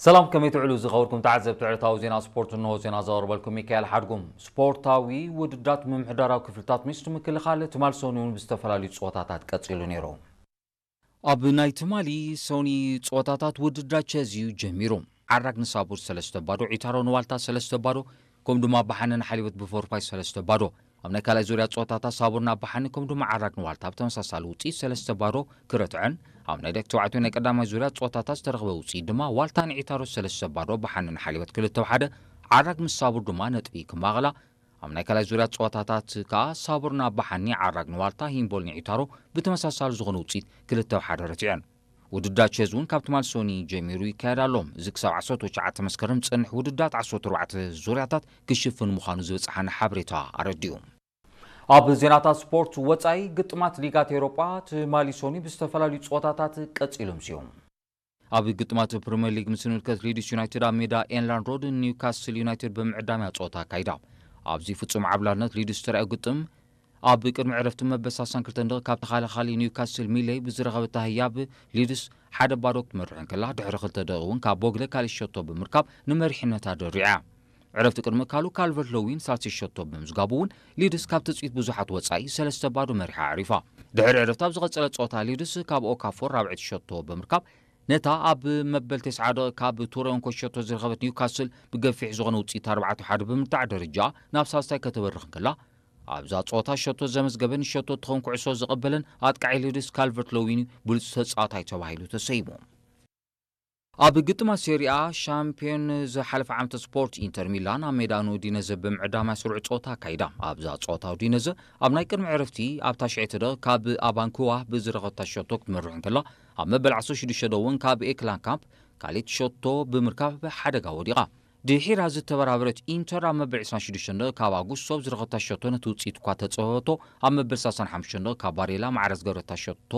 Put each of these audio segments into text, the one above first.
ሰላም፣ ከመይ ትውዕሉ ዝኸበርኩም ተዓዘብቲ ዕለታዊ ዜና ስፖርት? እንሆ ዜና ዘቕርበልኩም ሚካኤል ሓድጉም። ስፖርታዊ ውድድራት ምምሕዳራዊ ክፍልታት ሚኒስትሪ ምክልኻል ትማል ሰኑይ እውን ብዝተፈላለዩ ፀወታታት ቀፂሉ ነይሩ። ኣብ ናይ ትማሊ ሰኑይ ፀወታታት ውድድራት ቸዝ እዩ ጀሚሩ። ዓራግ ንሳቡር ሰለስተ ባዶ፣ ዒታሮ ንዋልታ ሰለስተ ባዶ፣ ከም ድማ ኣባሓነ ንሓሊበት ብፎርፋይ ሰለስተ ባዶ። ኣብ ናይ ካልኣይ ዙርያ ፀወታታት ሳቡር ንኣባሓኒ ከም ድማ ዓራግ ንዋልታ ብተመሳሳሊ ውፅኢት ሰለስተ ባዶ ክረትዐን፣ ኣብ ናይ ደቂ ተባዕትዮ ናይ ቀዳማይ ዙርያ ፀወታታት ዝተረኽበ ውፅኢት ድማ ዋልታ ንዒታሮ ሰለስተ ባዶ ኣባሓኒ ንሓሊበት ክልተ ሓደ፣ ዓራግ ምስ ሳቡር ድማ ነጥቢ ክማቕላ። ኣብ ናይ ካልኣይ ዙርያ ፀወታታት ከዓ ሳቡር ንኣባሓኒ፣ ዓራግ ንዋልታ፣ ሂምቦል ንዒታሮ ብተመሳሳሊ ዝኾነ ውፅኢት ክልተ ሓደ ረቲዐን። ውድድራት ቸዝ እውን ካብ ትማል ሰኑይ ጀሚሩ ይካየድ ኣሎ። እዚ ክሳብ ዓሰርተ ትሽዓተ መስከረም ዝፀንሕ ውድድራት ዓሰርተ ኣርባዕተ ዙርያታት ክሽፍን ምዃኑ ዝበፅሓና ሓበሬታ ኣረዲኡ። ኣብ ዜናታት ስፖርት ወፃኢ፣ ግጥማት ሊጋት ኤውሮጳ ትማሊ ሰኑይ ብዝተፈላለዩ ፀወታታት ቀፂሎም እዮም። ኣብ ግጥማት ፕሪምየር ሊግ ምስ ንምልከት፣ ሊድስ ዩናይትድ ኣብ ሜዳ ኤላንድ ሮድ ኒውካስል ዩናይትድ ብምዕዳም እያ ፀወታ ኣካይዳ። ኣብዚ ፍጹም ዓብላልነት ሊድስ ዝተራእዮ ግጥም፣ ኣብ ቅድሚ ዕረፍቲ መበል ሰላሳን ክልተን ደቂቕ ካብ ተኸላኻሊ ኒውካስል ሚለይ ብዝረኸበታ ህያብ ሊድስ ሓደ ባዶ ክትመርሕ እንከላ፣ ድሕሪ ክልተ ደቂቕ እውን ካብ ቦግለ ካልእ ሸቶ ብምርካብ ንመሪሕነታ ደሪዓ። ዕረፍቲ ቅድሚ ምእካሉ ካልቨርት ሎዊን ሳልሲ ሸቶ ብምዝጋቡ እውን ሊድስ ካብ ትጽቢት ብዙሓት ወጻኢ ሰለስተ ባዶ መሪሓ ኣዕሪፋ። ድሕሪ ዕረፍቲ ኣብ ዝቐጸለ ጸወታ ሊድስ ካብ ኦካፎር ራብዐይቲ ሸቶ ብምርካብ ነታ ኣብ መበል ተስዓ ደቂቕ ካብ ቱረ እንኮ ሸቶ ዝረኸበት ኒውካስል ብገፊሕ ዝኾነ ውጽኢት ኣርባዕተ ሓደ ብምርታዕ ደረጃ ናብ ሳልሳይ ከተበርኽ እንከላ፣ ኣብዛ ጸወታ ሸቶ ዘመዝገበን ሸቶ ትኾን ኩዕሶ ዝቐበለን ኣጥቃዒ ሊድስ ካልቨርት ሎዊን ብሉጽ ተጻዋታይ ተባሂሉ ተሰይሙ። ኣብ ግጥማት ሴሪኣ ሻምፒዮን ዝሓለፈ ዓመት ስፖርት ኢንተር ሚላን ኣብ ሜዳ ንኡዲነዘ ብምዕዳም ስሩዕ ጸወታ ኣካይዳ። ኣብዛ ጸወታ ኡዲነዘ ኣብ ናይ ቅድሚ ዕረፍቲ ኣብ ታሽዐይቲ ደቂቕ ካብ ኣባንኩዋ ብዝረኸበታ ሸቶ ክትመርሕ እንከላ፣ ኣብ መበል ዓሰርተ ሽዱሽተ ደቂቕ እውን ካብ ኤክላንካምፕ ካልኣይቲ ሸቶ ብምርካብ ሓደጋ ወዲቓ። ድሒራ ዝተበራበረት ኢንተር ኣብ መበል ዕስራን ሽዱሽተን ደቂቕ ካብ ኣጉስቶ ብዝረኸበታ ሸቶ ነቲ ውጽኢት እኳ ተጸበበቶ፣ ኣብ መበል ሰላሳን ሓሙሽተን ደቂቕ ካብ ባሬላ ማዕረ ዝገበረታ ሸቶ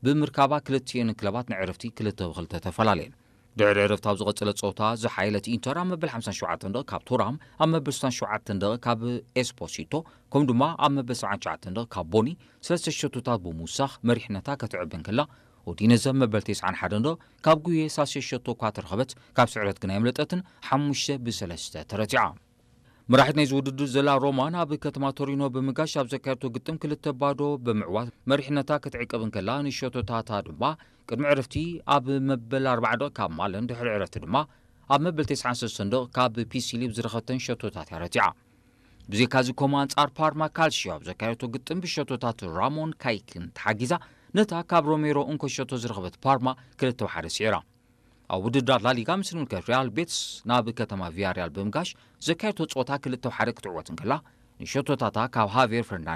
ብምርካባ ክልቲኤን ክለባት ንዕረፍቲ ክልተ ብክልተ ተፈላለየን። ድሕሪ ዕረፍቲ ኣብ ዝቐጸለ ጸወታ ዝሓየለት ኢንተር ኣብ መበል ሓምሳን ሸውዓተን ደቂቕ ካብ ቱራም፣ ኣብ መበል ስሳን ሸውዓተን ደቂቕ ካብ ኤስፖሲቶ፣ ከምኡ ድማ ኣብ መበል ሰብዓን ትሽዓተን ደቂቕ ካብ ቦኒ ሰለስተ ሸቶታት ብምውሳኽ መሪሕነታ ከተዕቢ እንከላ፣ ኡዲነዘ መበል ተስዓን ሓደን ደቂቕ ካብ ጉየ ሳልሳይ ሸቶ እኳ ተረኸበት፣ ካብ ስዕረት ግን ኣየምለጠትን፣ ሓሙሽተ ብሰለስተ ተረቲዓ። መራሒት ናይዚ ውድድር ዘላ ሮማ ናብ ከተማ ቶሪኖ ብምጋሽ ኣብ ዘካየደቶ ግጥም ክልተ ባዶ ብምዕዋት መሪሕነታ ክትዕቅብ እንከላ፣ ንሸቶታታ ድማ ቅድሚ ዕረፍቲ ኣብ መበል ኣርባዓ ደቂቕ ካብ ማለን፣ ድሕሪ ዕረፍቲ ድማ ኣብ መበል ተስዓን ሰለስተን ደቂቕ ካብ ፒሲሊ ብዝረኸበተን ሸቶታት እያ ረቲዓ። ብዘይካዚ ኮማ ኣንጻር ፓርማ ካልሲዮ ኣብ ዘካየደቶ ግጥም ብሸቶታት ራሞን ካይክን ተሓጊዛ ነታ ካብ ሮሜሮ እንኮ ሸቶ ዝረኸበት ፓርማ ክልተ ሓደ ስዒራ። ኣብ ውድድራት ላሊጋ ምስ ንምልከት ሪያል ቤትስ ናብ ከተማ ቪያሪያል ብምጋሽ ዘካየደቶ ጸወታ ክልተ ሓደ ክትዕወት እንከላ ንሸቶታታ ካብ ሃቬር ፈርናንዴዝ